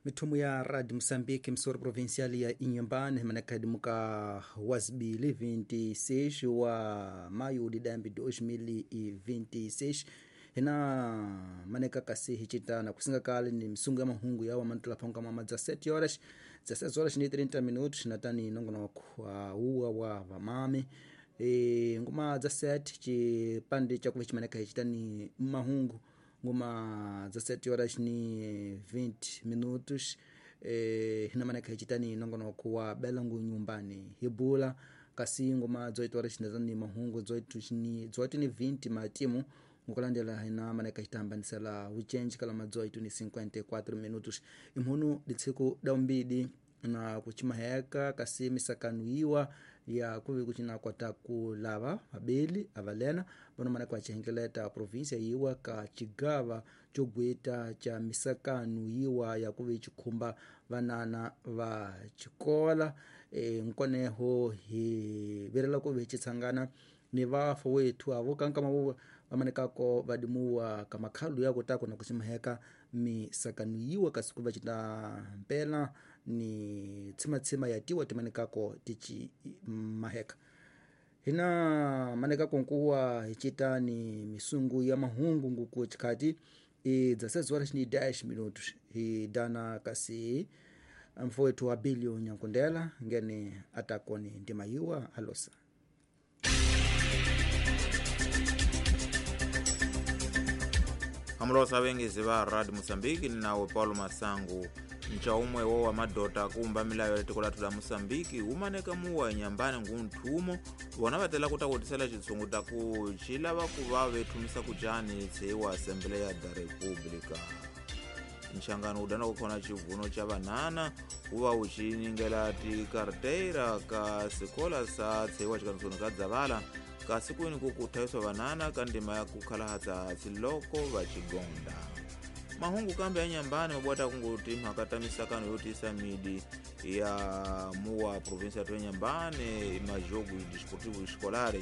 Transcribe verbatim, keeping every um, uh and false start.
Mithumu ya Radio Moçambique, emissora provincial ya Inhambane, manakadi muka wasibili vinte e seis wa maio de dambi dois mil e vinte e seis, hina maneka kasi hichitana kusinga kale ni misungu ya mahungu yawa mantula panka mama dezessete horas, dezesseis horas ni trinta minutos, natani nongonoko uh, uwa wa vamame e, nguma dezessete chipande chakuva chimaneka hichitani mahungu nguma dezessete horas ni vinte minutos, eh, hinamaneka hichitani nongonoko wa belangu nyumbani hibula. Kasi nguma dezoito horas natani mahungu dezoito ni dezoito ni vinte matimu ngukulandela hina maneka hitambanisela uchenji kala ma dezoito ni cinquenta e quatro minutos imhunu ditsiku daumbidi na kuchimaheka. Kasi misakanu iwa ya kuvi kuchina kwata kulava mabeli avalena vano maneka wachihengeleta província iwa ka chigava chogweta cha misakanu iwa ya kuvi chikhumba vanana va chikola. e, nkoneho hi virela kuvi chitsangana ni vafo wethu avo kankama vo vamanekako vadimuwa kamakhalu yako tako na kuchimaheka misakanu yiwa kasi kuva cita mpela ni tsimatsima ya tiwa timanekako tichi maheka hina manekako nkuwa hichita ni misungu ya mahungu nguku chikhati e dezesseis horas ni dez minutos hidana kasi mfo wethu wa Bilio Nyankundela ngene atakoni ndima yiwa alosa. Amulosa wengezi va Radio Moçambique, nawe Paulo Masangu. Ncha umwe wo wa madota kumba milayo ya tiko lathu la Moçambique umaneka muwa Inhambane ngunthumo vona vatela kutakutisela xitshungu ta ku xi lava ku va vethumisa kucani tseiwa Assembleia da República. Nxangano wu dana ku khona xivuno xa vanhana wu va wu xi ningela tikarteira ka sikola sa tseiwa xikanisoni ka dzavala kasi kwini ku kuthayiswa vanhana ka ndima ya ku khalahatsa loko va xigonda. Mahungu kambe ya Inhambane mabwata kungu timhaka ta misakano yo tisa midi ya muwa província ya Inhambane majogo desportivo escolares.